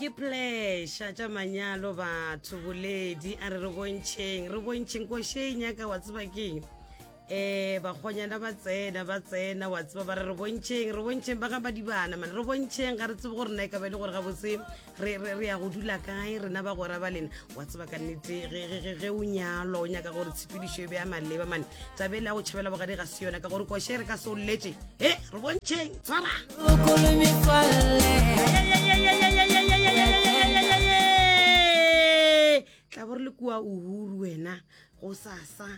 Ke pleasure tša manyalo batho boledi a re re bontšheng re bontšheng koše e nyaka wa tseba keng eh bakgonyana ba tsena ba tsena wa tseba ba re re bontšheng re bontšheng ba ga badibana mane re bontšheng ga re tsebe gore na e ka ba e le gore gabotse re re re ya go dula kae rena bagwera ba lena wa tseba ka nnete ge ge ge ge o nyalwa o nyaka gore tshepedišo e be ya maleba mane tabele ya go tšhabela bogadi ga se yona ka gore koše re ka se o lletše e re bontšheng tshwara tla bo re le kua uhuru wena go sasa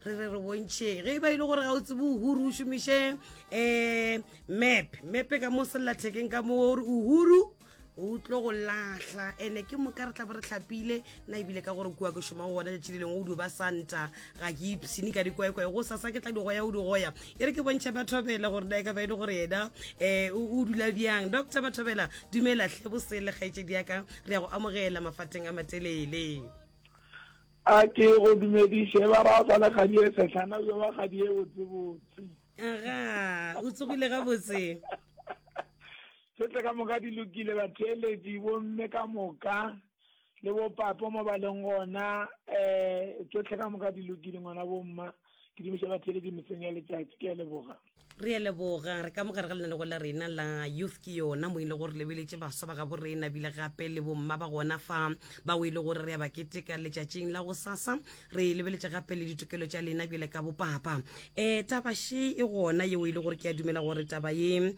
re re re bontšhe ge e ba e le gore ga o tsebe uhuru o šomiše um map map ka mo sellathekeng ka mo gore uhuru o tlo go lahla ene ke moka re tla bo re hlapile nna ebile ka gore kua ke šoma go gona tšatši le lengwe o dio ba santa ga ke ipshine ka dikwaekwae go sasa ke tla di goya o di goya e re ke bontšha bathobela gore na e ka ba e le gore yena um o dula bjang doctor bathobela dumela hle bosele kgaetšedi ya ka re ya go amogela mafateng a matelele A ke go dumediše ba ra sa le kgadi e sehlana bjo ba kgadi e botsebotse. Aga, o tsogile gabotse. Tšohle ka moka di lokile batheeletši bomme ka moka le bopapo mo ba leng gona um tšohle ka moka di lokile ngwana bomma ke dumiša batheeletši mesong ya letšatši ke a leboga. Re a leboga re ka mo gare ga lenanego la rena la youth ke yona mo e le gore lebeletše baswa ba gabo rena bile gape le bomma ba gona fa bao e le gore re a ba keteka letšatšing la go sasa re lebeletše gape le ditokelo tša lena bjale ka bopapa um taba še e gona yeo e le gore ke a dumela gore taba ye um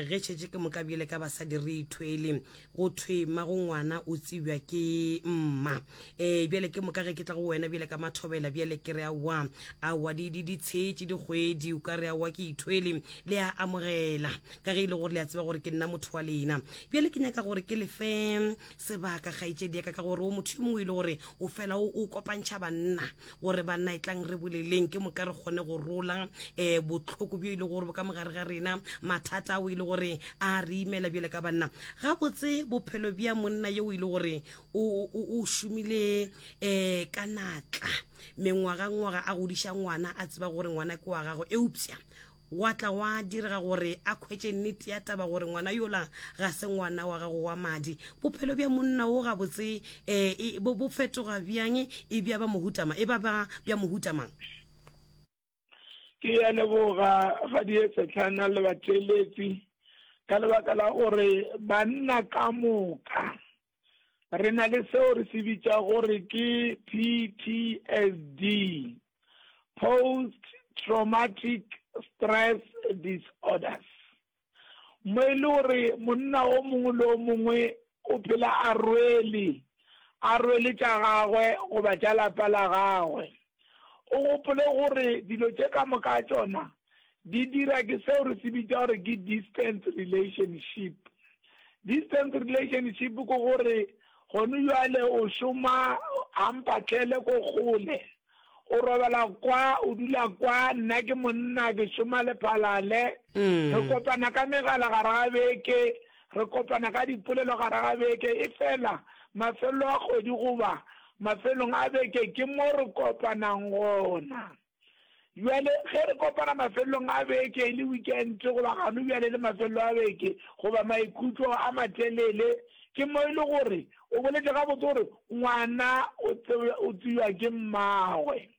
ge tšhetše ke moka bjale ka basadi re ithwele go thwe mmago ngwana o tsebja ke mma um bjale ke moka ge ke tla go wena bjale ka mathobela bjale ke re aowa aowa di di di tshetše dikgwedi o ka re aowa ke ithwele le a amogela ka ge e le gore le a tseba gore ke nna motho wa lena bjale ke nyaka gore ke lefe sebaka kgaetšedi ya ka ka gore o motho yo mongwe e le gore o fela o o kopantšha banna gore banna e tlang re boleleng ke moka re kgone go rola um bohloko bjo e le gore bo ka mogare ga rena mathata ao e le gore a re imela bjale ka banna gabotse bophelo bja monna yo e le gore o, o, o šomile um ka natla mengwagangwaga a godiša ngwana a tseba gore ngwana ke wa gagwe eupša Gwa tla gwa direga gore a khwetše nnete ya taba gore ngwana yola ga se ngwana wa gago wa madi. Bophelo bja monna wo gabotse e, bo, bo fetoga bjang e bja ba mohuta mang? E ba ba bja mohuta mang? Ke a leboga Gadie Sehlana le batheeletši ka lebaka la gore banna ka moka re na le seo re se bitša gore ke PTSD, Post Traumatic Stress Disorders, mo e le gore monna o mongwe le o mongwe o phela a rwele, a rwele tša gagwe goba tša lapa la gagwe. O gopole gore dilo tše ka moka tšona di dira ke seo re se bitša gore ke distance relationship. Distance relationship ke gore gone bjale o šoma ga mpatlele ko kgole, o robala kwa, o dula kwa, nna ke monna ke šoma Lephalale, re kopana ka megala gare ga beke, Re kopana ka dipolelo gare ga beke, efela mafelelo a kgwedi goba mafelong a beke ke mo re kopanang gona. Bjale ge re kopana mafelelong a beke e le weekend goba gano bjale e le mafelelo a beke goba maikhutšo a matelele, ke mo e le gore o boletše gabotse gore ngwana o tsebja ke mmagwe.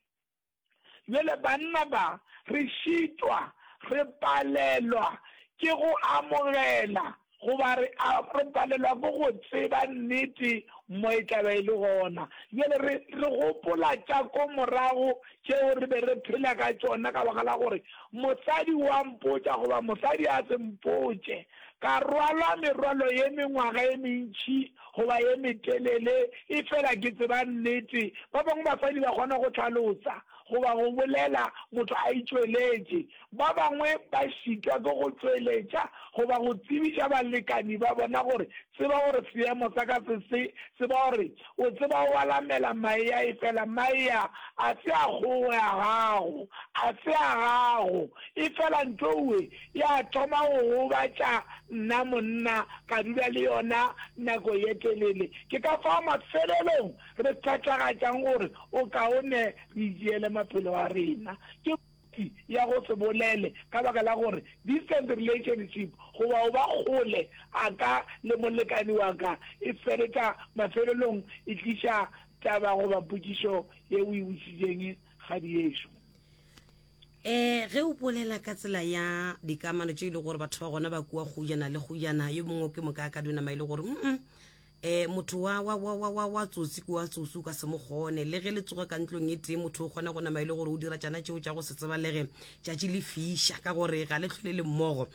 Bjale banna ba, re šitwa, re palelwa ke go amogela, goba re, re palelwa ke go tseba nnete mo e tla be e le gona. Bjale re, re gopola tša ko morago tšeo re be re phela ka tšona ka baka la gore mosadi o a mpotša goba mosadi a se mpotše. Ka rwalwa merwalo ye mengwaga ye mentši goba ye metelele, efela ke tseba nnete. Ba bangwe basadi ba kgona go hlalosa goba go bolela motho a itšweletše. Ba bangwe ba šitwa ke go tšweletša goba go tsebiša balekani ba bona gore, Tseba gore seemo sa ka se se, tseba gore o tseba o alamela maea efela maea a se a kgogo ya gago, a se a gago. Efela ntouwe Ya thoma go gobatša nna monna, ka dula le yona nako ye telele. Ke ka fao mafelelong re phethagatšang gore o kaone re itšeele maphelo a rena. Ke. kotsi ya go se bolele ka baka la gore distant relationship goba o ba kgole a ka le molekani wa ka e feletša mafelelong e tliša taba goba potšišo ye o e botšitšeng kgadi yešo. Um ge o bolela ka tsela ya dikamano tše e le gore batho ba gona ba kua kgojana le kgojana, yo mongwe ke moka a ka duna ma e le gore mm um motho wa wa wa wa wa wa tsotsi ke wa tsotsi, o ka se mo kgone le ge le tsoga ka ntlong e tee. Motho o kgona go nama e le gore o dira tšana tšeo tša go se tsebalege tšatši le fiša, ka gore ga le tlhole le mmogo.